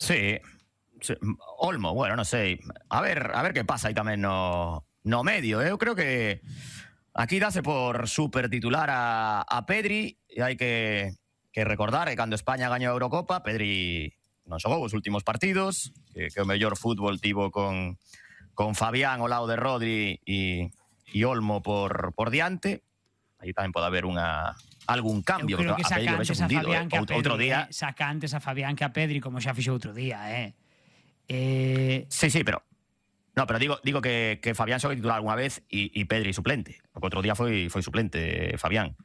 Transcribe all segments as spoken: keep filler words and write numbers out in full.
Sí, sí. Olmo, bueno, non sei. A ver, a ver que pasa aí tamén no, no medio. Eu creo que aquí dáse por super titular a, a Pedri e hai que, que recordar que cando España gañou a Eurocopa, Pedri non xogou os últimos partidos, que, que o mellor fútbol tivo con, con Fabián ao lado de Rodri e, e Olmo por, por diante. Aí tamén pode haber unha... algún cambio. Eu creo que saca antes a Fabián que a Pedri, outro día... eh? Saca antes a Fabián que a Pedri, como xa fixo outro día, eh? eh... Sí, sí, pero... No, pero digo, digo que, que Fabián xogue titular alguna vez e, e Pedri suplente. Porque outro día foi, foi suplente Fabián.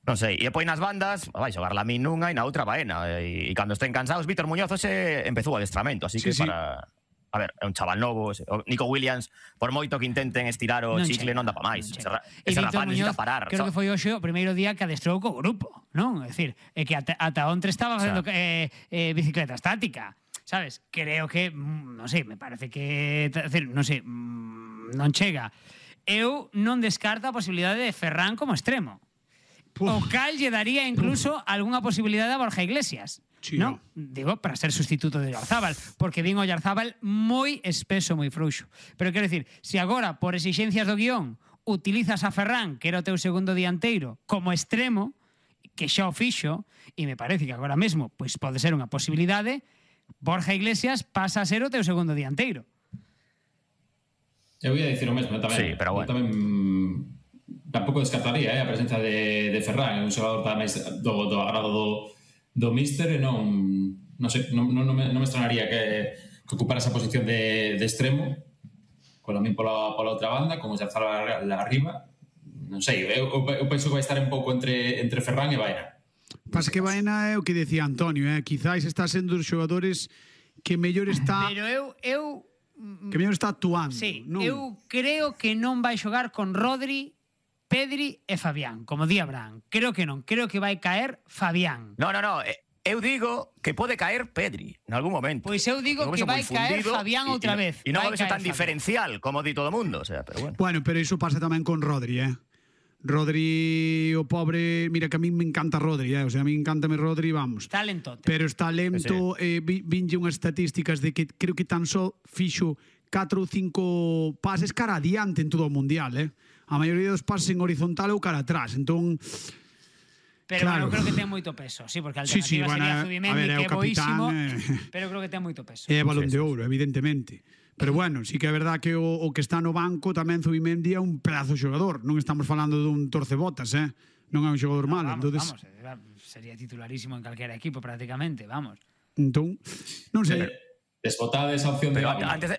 Non sei. E depois nas bandas, vai xogar Lamín nunha e na outra Baena. E, e cando estén cansados, Vítor Muñoz hoxe empezou o adestramento. Así Sí, que sí. para... A ver, é un chaval novo. O Nico Williams, por moito que intenten estirar o Non chicle, chega, non dá pa máis. non Ese, chega. ra- E ese Víctor rapaz necesita Muñoz, parar. creo So- que foi hoxe o primeiro día que adestrou co grupo, non? É dicir, é que ata, ata ontre estaba facendo O sea. eh, eh, bicicleta estática, sabes? Creo que, mm, non sei, me parece que, é dicir, non sei, mm, non chega. Eu non descarto a posibilidade de Ferran como extremo. Puf. O cal lle daría incluso algunha posibilidade a Borja Iglesias. Sí, ¿no? no. Digo, para ser sustituto de Oyarzábal, porque vin Oyarzábal moi espeso, moi frouxo. Pero quero dicir, se agora, por exixencias do guión, utilizas a Ferran, que era o teu segundo dianteiro, como extremo, que xa o fixo, e me parece que agora mesmo pois pode ser unha posibilidade, Borja Iglesias pasa a ser o teu segundo dianteiro. Eu ia dicir o mesmo tamén. Sí, pero bueno. Eu tamén mm, tampouco descartaría eh, a presencia de, de Ferran, é un xogador tamén do, do agrado do, do míster e non, non sei, non, non, non, me, non me extrañaría que, que ocupara esa posición de, de extremo con a min pola, pola outra banda, como xa estaba arriba. Non sei, eu, eu penso que vai estar un pouco entre, entre Ferran e Baena. Pasa que Baena é o que decía Antonio, eh? Quizáis está sendo os xogadores que mellor está Pero eu, eu que mellor está actuando. Sí, non? eu creo que non vai xogar con Rodri, Pedri e Fabián, como di Abraham. Creo que non, creo que vai caer Fabián. No, no, no. eh, Eu digo que pode caer Pedri en algún momento. Pois eu digo Porque que vexo vai moi caer fundido Fabián e- outra e- vez. E non Vai o vexo caer tan Fabián. diferencial como di todo o mundo. O sea, pero bueno. Bueno, pero iso pasa tamén con Rodri, eh? Rodri, o pobre, mira que a mí me encanta Rodri, eh? O sea, a mí encántame Rodri, vamos. Talentote. Pero está lento, Sí, eh, vi- vinlle unhas estatísticas de que creo que tan só fixo catro ou cinco pases cara adiante en todo o mundial, eh? A maioría dos pases en horizontal ou cara atrás, entón... Pero Claro. bueno, creo que ten moito peso. Sí, porque a Sí, sí, alternativa bueno, sería a Zubimendi, ver, é que o é boísimo, capitán, eh. pero creo que ten moito peso. É balón Sí, de sí, ouro, evidentemente. Pero bueno, sí que é verdad que o, o que está no banco tamén Zubimendi é un pedazo de xogador. Non estamos falando dun torcebotas, eh? Non é un xogador No, malo. vamos, Entonces, vamos, eh, sería titularísimo en calquera equipo prácticamente, vamos. entón, non sei. Desbotada esa opción de Pero Gavi. antes de...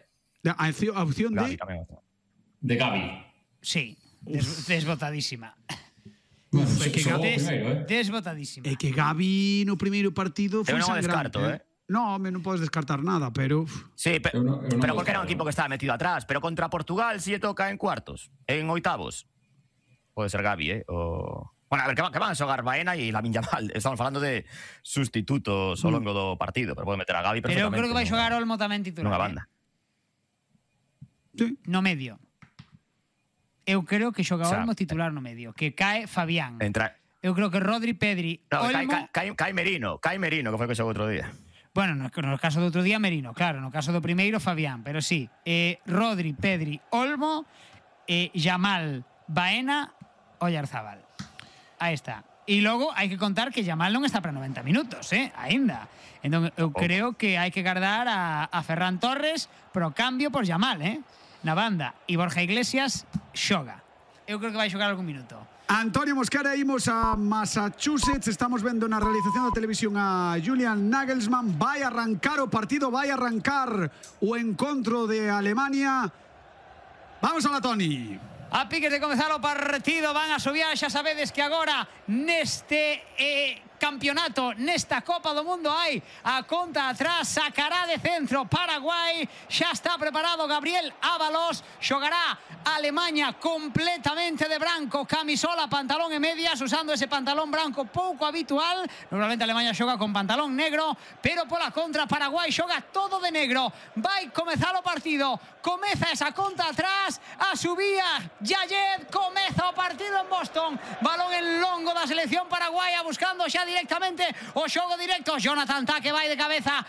A, opción- a opción Gavi de... tamén. De Gavi. Sí, des, desbotadísima. Bueno, é que xogou Des, primeiro, eh? desbotadísima. É que Gavi no primeiro partido foi Eu non o sangrante. descarto, eh. No, me non podes descartar nada, pero... uf, Sí, pe- Eu non- eu non pero vou porque era un estar, equipo non. que estaba metido atrás. Pero contra Portugal si lle toca en cuartos, en oitavos. Pode ser Gavi, eh? O... Bueno, a ver, que van, que van a xogar Baena e Lamine Yamal. Estamos falando de sustitutos ao longo do partido, pero pode meter a Gavi Pero eu perfectamente. creo que vai nunha- xogar Olmo tamén titular. nunha eh. banda. Sí. No medio. Eu creo que xoga O sea, Olmo titular no medio, que cae Fabián. Entra... Eu creo que Rodri, Pedri, No, cae, Olmo... cae, cae, cae Merino, cae Merino, que foi o que xogou outro día. Bueno, no, no caso do outro día Merino, claro, no caso do primeiro Fabián, pero sí, eh, Rodri, Pedri, Olmo, eh, Yamal, Baena, Oyarzábal. Aí está. E logo hai que contar que Yamal non está para noventa minutos, eh, aínda. Entón eu creo que hai que guardar a, a Ferran Torres pro cambio por Yamal, eh, na banda. E Borja Iglesias xoga. Eu creo que vai xogar algún minuto. Antonio Mosquera, imos a Massachusetts. Estamos vendo na realización da televisión a Julian Nagelsmann. Vai arrancar o partido, vai arrancar o encontro de Alemania. Vamos a la Toni. A piques de comezar o partido van a subir, xa sabedes que agora neste eh, campeonato, nesta Copa do Mundo hai a conta atrás, sacará de centro Paraguai, xa está preparado Gabriel Ábalos, xogará Alemanha completamente de branco, camisola, pantalón e medias, usando ese pantalón branco pouco habitual. Normalmente Alemanha xoga con pantalón negro, pero pola contra Paraguai xoga todo de negro. Vai comezar o partido, comeza esa conta atrás, a subía Yayed, comeza o partido en Boston, balón en longo da selección paraguaya buscando xa directamente o xogo directo. Jonathan Tá que vai de cabeza,